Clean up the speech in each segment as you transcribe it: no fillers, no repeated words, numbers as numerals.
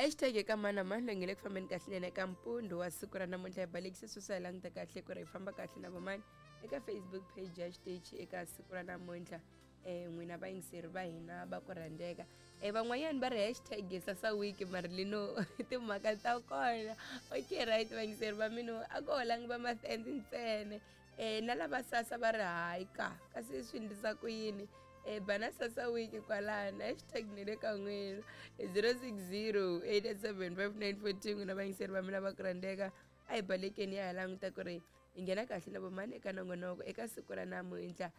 Hashtag eka mani na mani loyi nge le ku fambeni kahle nene eka mpundzu wa siku ra namuntlha. Hi balekise sweswi, hi languta kahle ku ri hi famba kahle na vamani eka Facebook page ya xitichi eka siku ra namuntlha. N'wina vayingiseri va hina va ku rhandzeka, van'wanyani va ri hashtag sasa week marilino timhaka ta kona. Okay, right, vayingiseri va mina, a ko holangi va mafenzi ntsena, na lava sasa va ri hayi ka kasi swi endlisa ku yini. Bana sasa week kwalano, hashtag ni le ka n'wina, 060 887 5942. N'wina vayingiseri va mina va ku rhandzeka, a hi balekeni ya hi languta ku ri hi nghena kahle na vomani eka nongonoko eka siku ra namuntlha,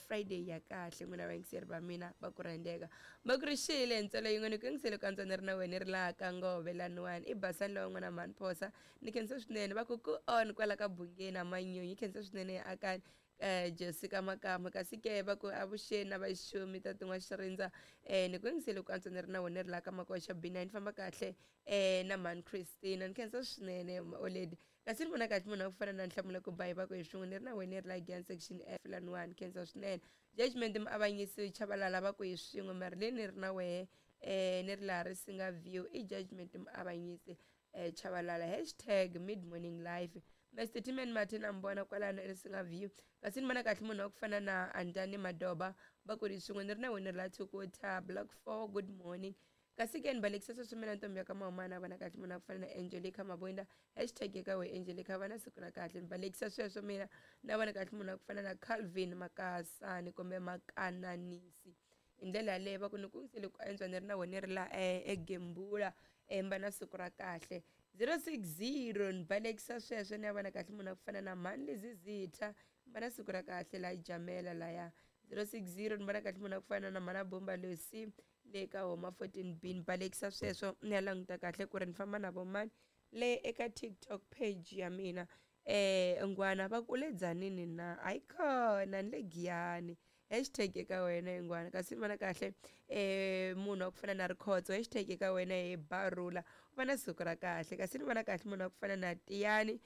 Friday ya kahle. N'wina vayingiseri va mina va ku rhandzeka, va ku ri xile ntswalo yin'we ni ku yingisele ku antswa ni ri na wena ri laha ka ngove laniwani i basani lowa n'wana mhani phosa. Ni khensa swinene, va ku ku on kwala ka bungeni na manyunyu. Khensa swinene ya akani Jessica Makama. Kasi ke va ku avuxeni na vaxumi ta tin'wa xirindza, ni ku yingisele ku antswa ni ri na wena ri laha ka makoxa B9, ni famba kahle na mhani Christina. Ni khensa swinene oledi. Kasi ni vona kahle munhu a ku fana na Nhlamulo ku bayi, va ku hi swin'we ni ri na wena ri la Gian section F laniwani. Khensa swinene Judgment Muavanyisi Chavalala, va ku hi swin'we Marilyn ni ri na wehe, ni ri laha Risinga View, i Judgment Muavanyisi Chavalala. Hashtag mid morning life, Mr Timan Martin a mi vona kwalano eRisinga View. Kasi ni vona kahle munhu wa ku fana na Andani Madoba, va ku ri swin'we ni ri na wena ri la Thukuta block 4, good morning. Kasi ke ni balekisa sweswi mina ntombi ya ka Mahumana, vona kahle munhu wa ku fana na Angelica Mabunda, hashtag eka we Angelica, va na siku ra kahle. Ni balekisa sweswo mina na vona kahle munhu wa ku fana na Calvin Makasani kumbe Makananisi hi ndlela yaleyo, va ku ni ku yingisele ku antswa ni ri na wena ri la egembula, va na siku ra kahle. 060 ni balekisa sweswo ni ya vona kahle munhu wa ku fana na mhani Lizizitha, va na siku ra kahle la Jamela laya. 060 ni vona kahle munhu wa ku fana na mhana Bomba Lucy le ka homa 14 B. Ni balekisa sweswo ni ya languta kahle ku ri ni famba na vomani le eka TikTok page ya mina. Ngwana va ku le Dzanini na hayi khona ni le Giyani, hashtag eka wena ingwana. Kasi ni vona kahle munhu wa ku fana na Rikhotso, hashtag eka wena hi Barula, u va na siku ra kahle. Kasi ni vona kahle munhu wa ku fana na Tiyani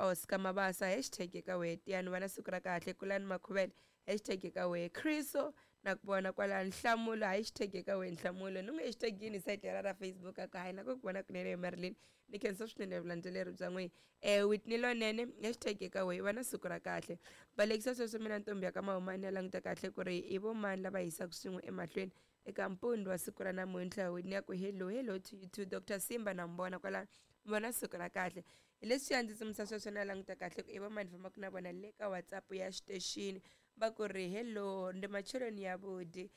Oscar Mabasa, hashtag eka wena Tiyani, va na siku ra kahle. Kulani Makhuvele, hashtag eka wena. Chriso na ku vona kwala Nhlamulo, hashtag eka wena Nhlamulo. Ni n'wi hashtag yini site ra ra Facebook a ku hayi na ku vona kunene Marilyn. Ni khensa swinene vulandzeleri bya n'wina. Whitney Lonene, hashtag eka wena, va na siku ra kahle. Balekisa sweswo mina ntombi ya ka Mahumani ya languta kahle ku ri i vo mani lava hisaka swin'we emahlweni eka mpundzu wa siku ra namuntlha. Whitney ya ku hello, hello to you too. Dr Simba na mi vona kwala, vona siku ra kahle. Hi leswiya ndzi tsumisa sweswo na languta kahle ku i vo mani fambaka na vona le ka WhatsApp ya xitexini. Va ku ri hello, ndi macheloni ya vudi,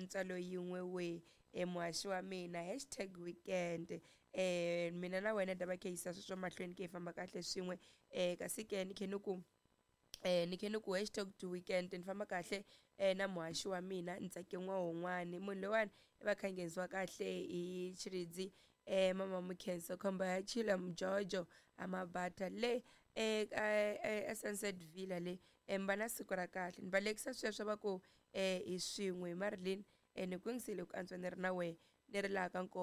ntswalo yin'we we, muhaxi wa mina, hashtag weekend. Mina na wena ta va khe yisa sweswo mahlweni ke hi famba kahle swin'we. Kasi ke ni khe ni ku ni khe ni ku hashtag to weekend, ni famba kahle na muhaxi wa mina Ntsake N'wahon'wani. Munhu loyiwani i va kha nghenisiwa kahle hi Chiridzi, mama Mukhenso khomba ya chila mjojo amabata le e Sunset Villa le, va na siku ra kahle. Ni balekisa sweswo, va ku hi swin'we Marilyn, ni ku yingisele ku antswa ni ri na wehe ni ri laha ka nkoka.